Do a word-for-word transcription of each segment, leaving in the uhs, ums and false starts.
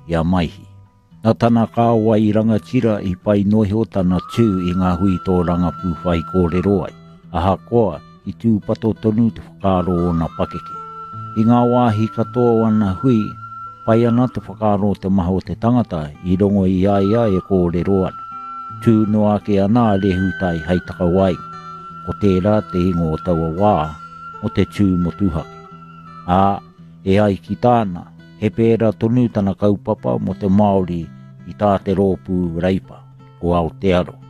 i a Maihi. Nā tana kāwai rangatira i pai noa iho tana tū i ngā hui tōrangapū whaikōrero ai, ahakoa i tūpato tonu te whakaaro o ōna pakeke. I ngā wāhi katoa o ana hui, pai ana te whakaaro o te maha o te tangata i rongo i a ia e kōrero ana. Tū noa ake ana a Rehutai hei takawaenga, ko tērā te ingoa o taua wā mō te tū motuhake. Ā, e ai ki tāna, he pērā tonu tana kaupapa mō te Māori i tā te rōpū Reipa, o Aotearoa.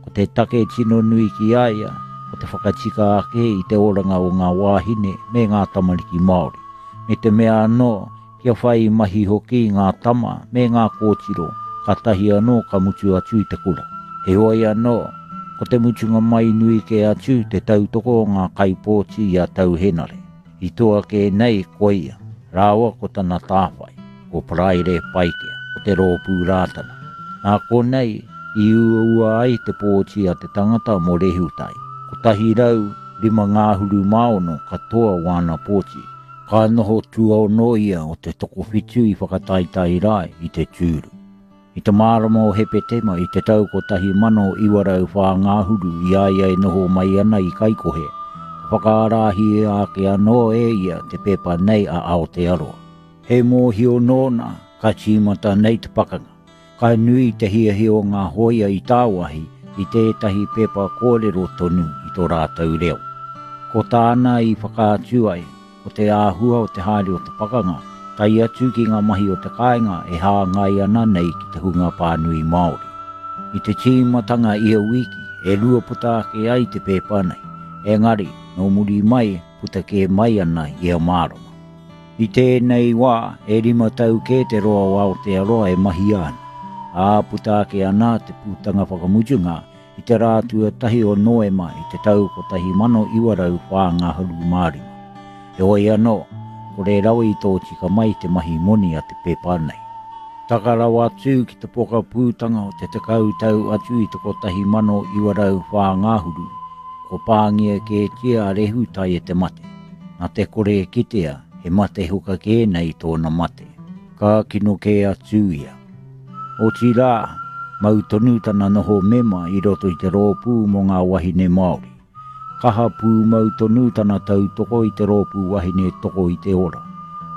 Ko te take tino nui ki a ia, ko te whakatika ake i te oranga o ngā wāhine me ngā tamariki Māori, me te mea anō kia whai mahi hoki ngā tama me ngā kōtiro, kātahi anō ka mutu atu i te kura. Heoi anō, ko te mutunga mai nui kē atu te tautoko o ngā kaipōti i a Tau Henare. I toa kē nei ko ia, rāua ko tana tāwhai, ko Paraire Paikea, o te rōpū Rātana. Nā konei i uaua ai te pōti a te tangata mō Rehutai. Kotahi rau, rima ngāhuru mā ono katoa wāna pōti. Ka noho tuaono ia o te tokowhitu i whakataetae rā i te tūru. I te marama o Hepetema i te tau kotahi mano iwa rau whā ngāhuru i a ia e noho mai ana i Kaikohe, ka whakaarahia ake anō e ia te pepa nei a Aotearoa. He mōhio nōna ka tīmata nei te pakanga. Ka nui te hiahia o ngā hōia i tāwāhi i tētahi pepa kōrero tonu i tō rātou reo. Ko tāna i whakaatu ai, ko te āhua o te haere o te pakanga, tae atu ki ngā mahi o te kāinga e hāngai ana nei ki te hunga pānui Māori. I te tīmatanga ia wiki, e rua puta ake ai te pepa nei, engari, nō muri mai, puta kē mai ana ia marama. I tēnei wā, e rima tau kē te roa o Aotearoa e mahia ana, ā, puta ake ana te putanga whakamutunga i te rā tuatahi o Noema i te tau kotahi mano iwa rau whā ngahuru mā rima. Heoi anō, kore rawa i tōtika mai te mahi moni a te pepa nei. Taka rawa atu ki te pokapūtanga o te tekau tau atu i te kotahi mano iwa rau whā ngahuru, ko pāngia kētia a Rehutai e te mate. Nā te kore e kitea, he mate huka kē nei tōna mate. Ka kino kē atu ia. Otirā, mau tonu tana noho mema i roto i te rōpū mō ngā wahine Māori. Kaha pūmau tonu tana tautoko i te rōpū wahine toko i te ora.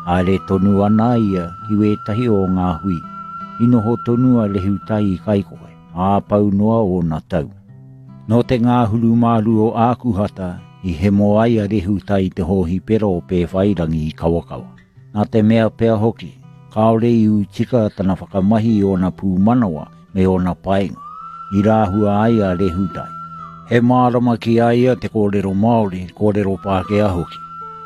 Haere tonu ana ia ki wētahi o ngā hui. I noho tonu a Rehutai i Kaikohe, ā pau noa ōna tau. Nō te ngāhuru māru o Ākuhata i hemo ai a Rehutai i te hōhipera o Pēwhairangi i Kawakawa. Nā te mea pea hoki, kāore i ū tika tana whakamahi i ōna pūmanawa me ōna painga, i rāhua ai a Rehutai. He mārama ki a ia te kōrero Māori, kōrero Pākehā hoki.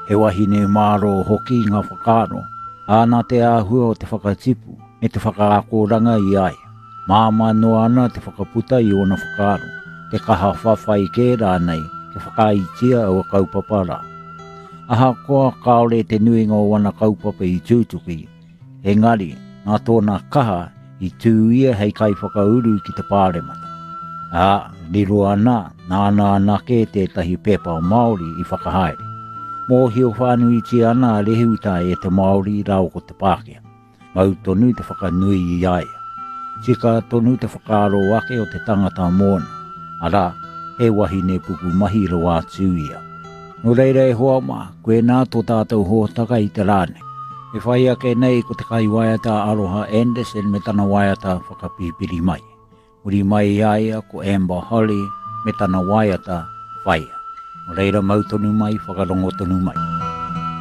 He wahine mārō hoki ngā whakaaro, ā, nā te āhua o te whakatipu me te whakaakoranga i a ia. Māmā noa ana te whakaputa i ōna whakaaro, te kaha whawhai kē rānei kia whakaaetia aua kaupapa rā. Ahakoa kāore te nuinga o ana kaupapa i tutuki, engari, nā tōna kaha i tū ia hei kaiwhakauru ki te pāremata. Ā, riro ana, nāna anake tētahi pepa Māori i whakahaere. Mōhio whānuitia ana a Rehutai e te Māori rāua ko te Pākehā. Mau tonu te whakanui i a ia. Tika tonu te whakaaro ake o te tangata mōna, arā, he wahine pukumahi rawa atu ia. Nō reira e hoa mā, koinā tō tātou hōtaka i te rā nei. E whai ake nei ko te kaiwaiata Aroha Anderson me tana waiata whakapipiri mai. Muri mai i a ia ko Amber Holly me tana waiata Whaia. Nō reira mau tonu mai, whakarongo tonu mai.